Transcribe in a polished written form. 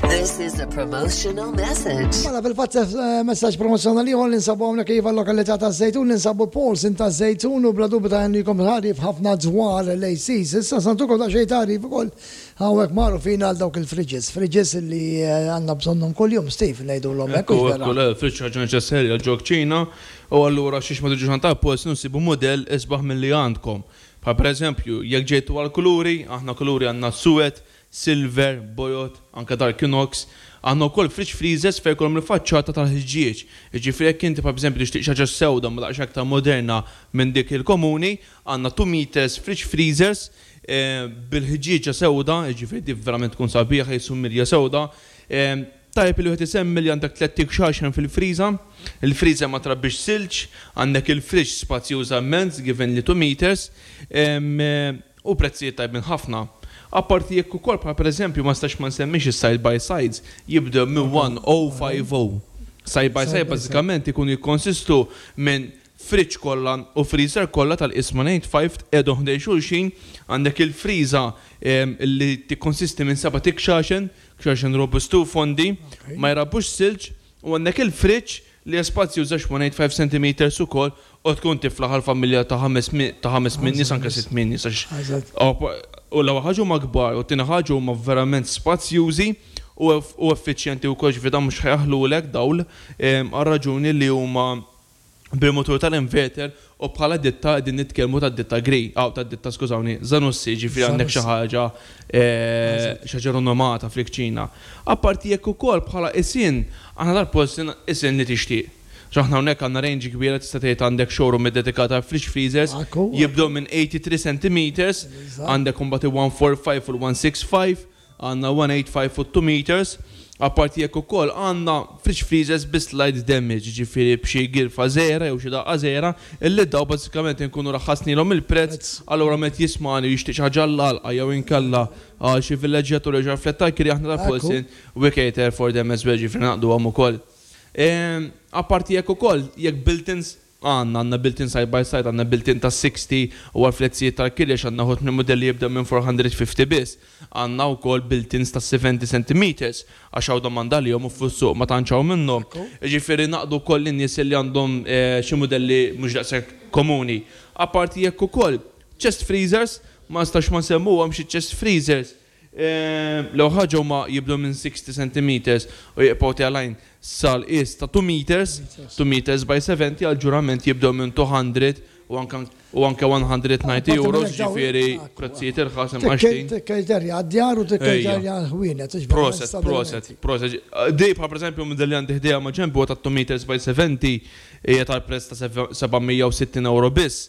This is a promotional message. Mela fil-fatt messaġġ promozzjonali ieħor li nsabu hawnhekk iva lokalità ta' Żejtun, ninsabu Paulson ta' Żejtun u bla dubju ta' jkom tagħrif ħafna dwar l-ACs. Issa se ntukom daqsxejn tagħrif ukoll hawnhekk magħrufin għal dawk il-fridges. Fridges li għandna bżonnhom kuljum, Steve, ngħidulhom hekk. Ekku, ekku, le, fridge ħaġa neċessarja ġo kċina u allura xiex ma tiġux għand tal-Paulson u ssibu mudell isbaħ milli għandkom. Bħal pereżempju, jekk ġejtu għall-kuluri, aħna kuluri għandna suwed, silver, bojod, anke dark inox. Għandna wkoll fridge freezers fejn ikollhom il-faċċata tal-ħġieġ. Jiġifieri jekk inti bħal pereżempju tixtieq xi ħaġa sewda ma daqsxejn aktar moderna minn dik il-komuni, għandna 2 meters fridge freezers bil-ħġieġa sewda, jiġifieri dik verament tkun sabiħa qisu mirja sewda. Tajjeb li wieħed isemmi li għandek tlett ikxaxen fil-friża, il-friża ma trabbix silġ, għandek il-fridge spazjuża immens given li 2 meters, u prezzijiet tajbin ħafna. Apparti jekk ukoll bħal pereżempju ma nistax ma nsemmix is-side by sides jibdew minn 1050. Side by side bażikament ikunu jikkonsistu minn fridge kollha u freezer kollha tal-qisma 185 tqiegħdu ħdejn xulxin, għandek il-friża li tikkonsisti minn seba' tikxaxen, kxaxen robusti u fondi, ma jrabbux silġ, u għandek il-fridge li hija spazjuża 1.85 centimeters ukoll u tkun tiflaħ għal familja ta' ħames min nies, anke sitt min nies, għax u l-ewwel ħaġa huma kbar u t-tieni ħaġa huma verament spazjużi u effiċjenti wkoll, ġifieri dan mhux ħa jaħlulek dawl għal raġuni li huma bil-motur tal-inverter u bħala ditta qegħdin nitkellmu ta' ditta Grey, aw ta' ditta, skużawni, Zanussi, ġifieri għandek xi ħaġa rinomata fil-kċina. Apparti jekk ukoll bħala isin, aħna dal-post isin li tixtieq. Aħna hawnhekk għandna range kbira, tista' tgħid għandek showroom iddedikata għal fridge freezers, jibdew minn 83 centimeters, għandek imbagħad il-145 u l-165, għandna 185 u 2 meters. Apparti jekk ukoll għandna fridge freezers bi slight damage, ġifieri b'xi girfa żgħira jew xi daqqa żgħira, illi daw bażikament inkunu raħħasnilhom il-prezz, allura meta jismani jixtieq xi ħaġa l-għalqa jew inkella għal xi villeġġjatur jew xi flett tal-kirja, aħna dal-Paulson we cater for them as well, ġifieri naqduhom ukoll. Apparti jekk ukoll, jekk built-ins għandna built-in side by side, għandna built-in ta' 60 u għal flettijiet tal-kirja għandna ħut minn modelli jibda minn 450 biss. Għandna wkoll built-ins ta' 70 cm għax hawn domanda li u fis-suq ma tantx hawn minnhom. Ġifieri naqdu wkoll in-nies li għandhom xi modelli mhux daqshekk komuni. Apparti jekk ukoll chest freezers, ma nistax ma nsemmuhom xi chest freezers. L-ewwel ħaġa huma jibdew minn 60 cm u jibqgħu telgħin sal-qies ta' 2 meters, 2 meters by 70, għal ġurament jibdew minn 200 u anke €190, ġifieri prezzijiet irħas imqaxtin. Tikkejterja għad-djar u tikkejterja għal-ħwienet. Proset, proset, proset. Di bħal per eżempju minn li għandi ħdejja ma' ġenbi ta' 2 meters by 70 hija tal-prezz ta' €760 biss.